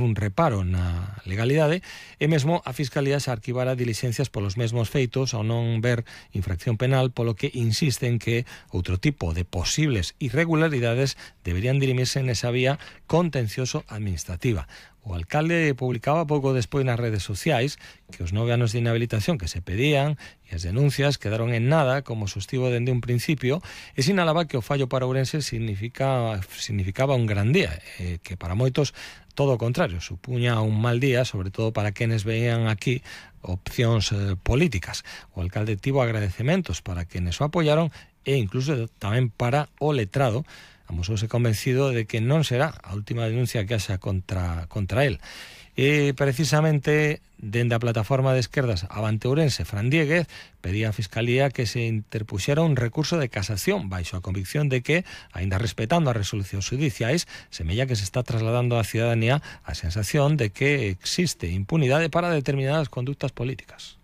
un reparo na legalidade e mesmo a Fiscalía se arquivara dilixencias polos mesmos feitos ao non ver infracción penal, polo que insiste en que outro tipo de posibles irregularidades deberían dirimirse nesa vía contencioso-administrativa. O alcalde publicaba pouco despois nas redes sociais que os 9 anos de inhabilitación que se pedían e as denuncias quedaron en nada, como sostivo dende un principio, e sinalaba que o fallo para Ourense significaba un gran día, que para moitos todo o contrario, supuña un mal día, sobre todo para quenes veían aquí opcións políticas. O alcalde tivo agradecementos para quenes o apoyaron e incluso tamén para o letrado. Amosouse convencido de que non será a última denuncia que haxa contra el. E precisamente dende a plataforma de esquerdas Avante Ourense, Fran Diéguez pedía á Fiscalía que se interpuxera un recurso de casación baixo a convicción de que, aínda respetando as resolucións judiciais, semella que se está trasladando á cidadanía a sensación de que existe impunidade para determinadas conductas políticas.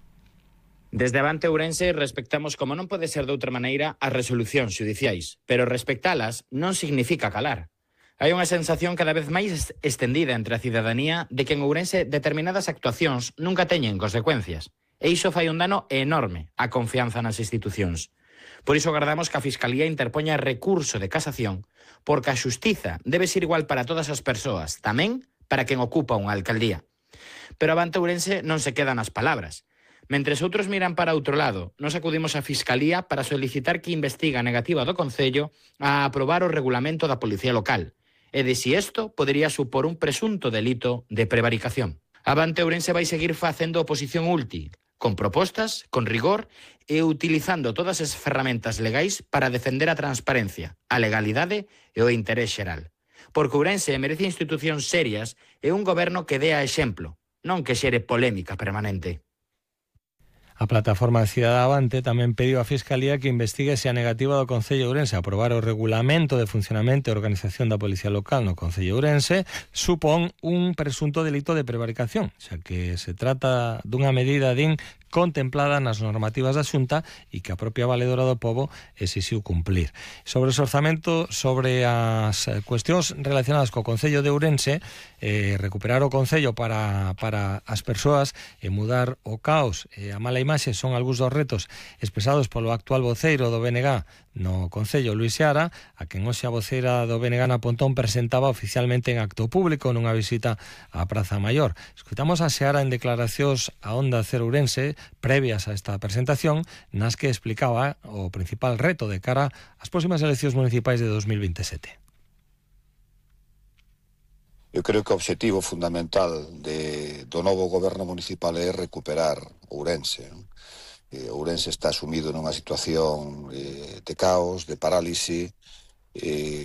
Desde Avante Ourense respectamos, como non pode ser de outra maneira, as resolucións xudiciais, pero respectalas non significa calar. Hai unha sensación cada vez máis estendida entre a cidadanía de que en Ourense determinadas actuacións nunca teñen consecuencias, e iso fai un dano enorme á confianza nas institucións. Por iso agardamos que a Fiscalía interpoña recurso de casación, porque a xustiza debe ser igual para todas as persoas, tamén para quen ocupa unha alcaldía. Pero Avante Ourense non se queda nas palabras. Mentres outros miran para outro lado, nos acudimos á Fiscalía para solicitar que investigue a negativa do Concello a aprobar o regulamento da Policía Local e de si isto podería supor un presunto delito de prevaricación. Avante Ourense vai seguir facendo oposición útil, con propostas, con rigor e utilizando todas as ferramentas legais para defender a transparencia, a legalidade e o interés xeral. Porque Ourense merece institucións serias e un goberno que dea exemplo, non que xere polémica permanente. A plataforma Cidade Avante tamén pediu á Fiscalía que investigue se a negativa do Concello de Ourense a aprobar o regulamento de funcionamento e organización da Policía Local no Concello de Ourense supón un presunto delito de prevaricación, xa que se trata dunha medida contemplada nas normativas da Xunta e que a propia Valedora do Pobo exixiu cumplir. Sobre os orzamentos, sobre as cuestións relacionadas co Concello de Ourense, recuperar o Concello para as persoas e mudar o caos e a mala imaxe son algúns dos retos expresados polo actual voceiro do BNG no Concello, Luis Seara, a quen hoxe a voceira do BNG na Pontón presentaba oficialmente en acto público nunha visita á Praza Maior. Escutamos a Seara en declaracións a Onda Cero Ourense previas a esta presentación, nas que explicaba o principal reto de cara ás próximas eleccións municipais de 2027. Eu creo que o obxectivo fundamental do novo goberno municipal é recuperar Ourense. Ourense está sumido nunha situación de caos, de parálise.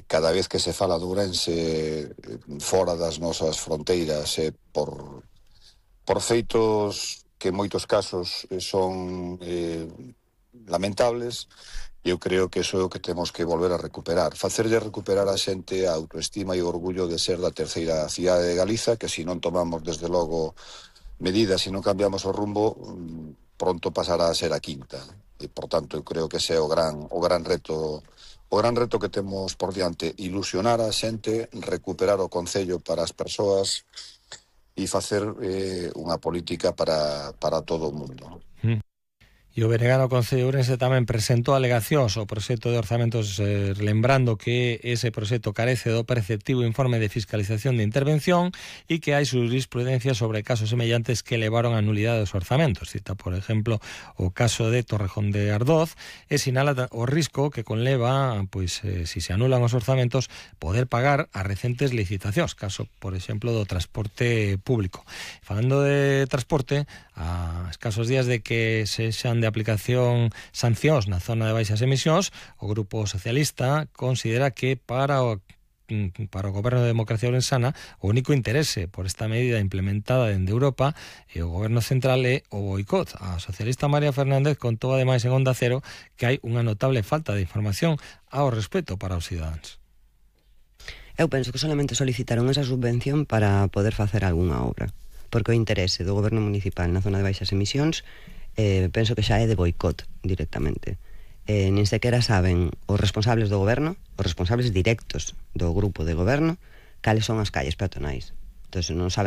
Cada vez que se fala de Ourense fora das nosas fronteiras por feitos que en moitos casos son lamentables. Eu creo que iso é o que temos que volver a recuperar. Facerlle recuperar a xente a autoestima e o orgullo de ser da terceira cidade de Galiza, que se non tomamos desde logo medidas e non cambiamos o rumbo, pronto pasará a ser a quinta. E, por tanto, eu creo que ese é o gran reto que temos por diante, ilusionar a xente, recuperar o Concello para as persoas e facer unha política para todo o mundo. E o BNG no Concello de Ourense tamén presentou alegacións ao proxecto de orzamentos, lembrando que ese proxecto carece do preceptivo informe de fiscalización de intervención e que hai jurisprudencia sobre casos semellantes que levaron a nulidade dos orzamentos. Cita, por exemplo, o caso de Torrejón de Ardoz e sinala o risco que conleva, si se anulan os orzamentos, poder pagar as recentes licitacións, caso, por exemplo, do transporte público. Falando de transporte, a escasos días de que se xan de aplicación sancións na zona de baixas emisións, o Grupo Socialista considera que para o Goberno de Democracia Ourensana o único interese por esta medida implementada dende Europa e o Goberno Central é o boicot. A socialista María Fernández contou ademais en Onda Cero que hai unha notable falta de información ao respecto para os cidadáns. Eu penso que solamente solicitaron esa subvención para poder facer algunha obra, porque o interese do Goberno Municipal na zona de baixas emisións penso que xa é de boicot directamente. Nin sequera saben os responsables do goberno, os responsables directos do grupo de goberno, cales son as calles peatonais. Entón, non saben